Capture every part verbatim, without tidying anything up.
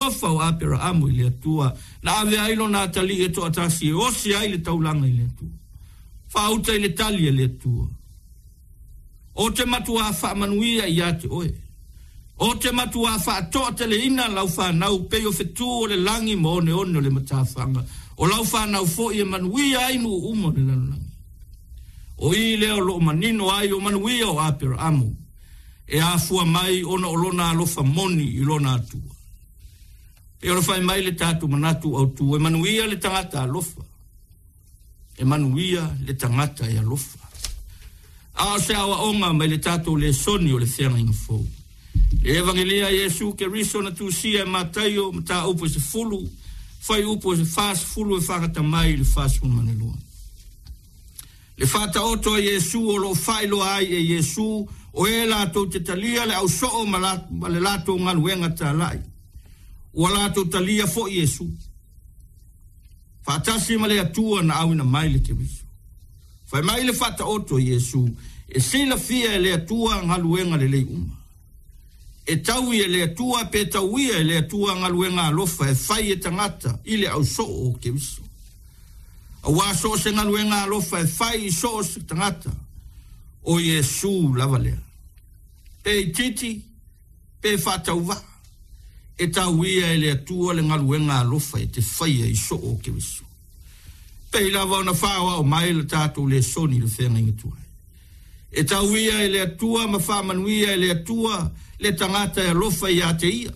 Alofa o Aperaamu i le Atua, na ave ai lona atalii e toatasi e osi ai le taulaga i le Atua. Faauta i le tali a le Atua. Ou te matuā faamanuia ia te oe. Ou te matuā faatoateleina lau fanau pei o fetu o le lagi ma oneone o le matafaga. O lau fanau foi e manuia ai nuu uma o le lalolagi. O i lea o loo manino ai o manuia o Aperaamu e afua mai ona o lona alofa moni i lona Atua. E o fai mai le tatou manatu autu, e manuia le tagata alofa. E manuia le tagata e alofa. A o se aoaoga mai le tatou lesoni o le feagaiga fou. Le Evangelia Iesu Keriso na tusia e Mataio, mataupu e sefulu, fuaiupu e fasefulu e faagata mai i le fasefulu ma le lua. Le faataoto a Iesu o loo faailoa ai e Iesu o e latou te talia le ausoo ma, la, ma le latou galuega talai. Ua latou talia foi Iesu faatasi ma le Atua na auina mai le Keriso. Fai mai le faataoto a Iesu, e silafia e le Atua galuega lelei uma. E taui e le Atua pe tauia e le Atua galuega alofa e fai e tagata i le ausoo o Keriso. Auā so o se galuega alofa e fai i so o se tagata, o Iesu lava lea. Pe itiiti, pe faatauvaa, e tauia e le Atua le galuega alofa e te faia i soo o Keriso. Pei lava ona faaoao mai le tatou lesoni i le feagaiga tuai. E tauia e le Atua ma faamanuia e le Atua le tagata e alofa ia te ia.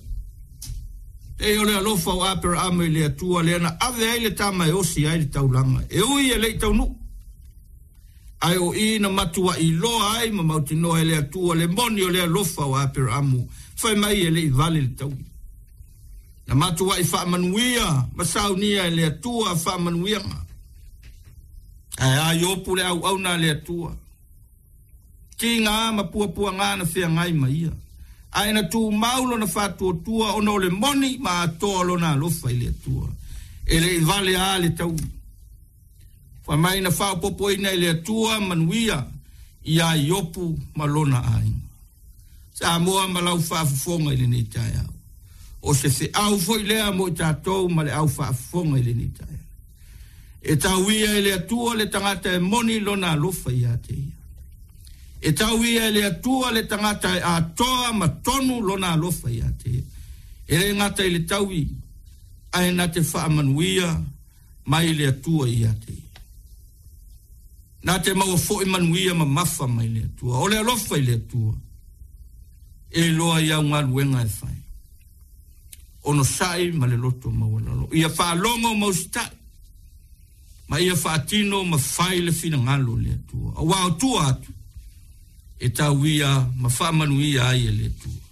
E o le alofa o Aperaamu i le Atua lea na ave ai le tama e osi ai le taulaga. E ui e le i taunuu. Ae o i na matuai iloa ai ma mautinoa e le Atua le moni o le alofa o Aperaamu, fai mai e le i vale le taui. Na matuai faamanuia ma saunia e le Atua faamanuiaga. Ae a Iopu le auauna a le Atua. Tiga ma puapuaga na feagai ma ia. Ae na tumau lona faatuatua ona o le moni ma atoa lona alofa i le Atua. E le i vale a le taui. Fai mai na faaopoopoina e le Atua manuia ia Iopu ma lona aiga. Samoa ma lau faafofoga i lenei taeao. O se feau foi lea mo i tatou ma le au faafofoga i lenei taeao. E tauia e le Atua le tagata e moni lona alofa ia te ia. E tauia e le Atua le tagata e atoa ma tonu lona alofa ia te ia. E le gata i le taui, ae na te faamanuia mai le Atua ia te ia. Na te maua foi manuia mamafa mai le Atua. O le alofa i le Atua, e iloa i au galuega e fai. Onosai ma le loto maualalo. Ia faalogo ma usitai, ma ia faatino ma fai le finagalo o le Atua. Auā o tua atu, e tauia ma faamanuia ai e le Atua.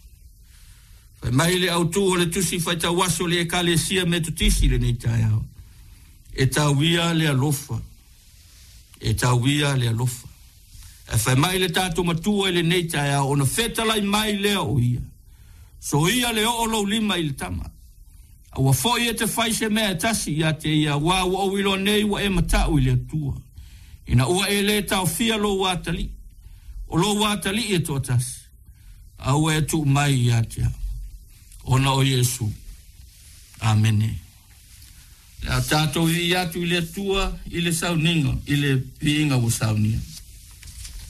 Fai mai le autu o le tusi faitauaso le Ekalesia Metotisi lenei taeao. E tauia le alofa. E tauia le alofa. E fai mai le tatou matua i lenei taeao, ona fetalai mai lea o ia. Soia le oo lou lima i le tama. Aua foi e te fai se mea e tasi ia te ia, auā ua ou iloa nei ua e matau i le Atua. Ina ua e le taofia lou atalii. O lou atalii e toatasi. A ua e tuu mai ia te au. Ona o Iesu. Amene. Le a tatou viia atu i le Atua i le sauniga, i le viiga ua saunia.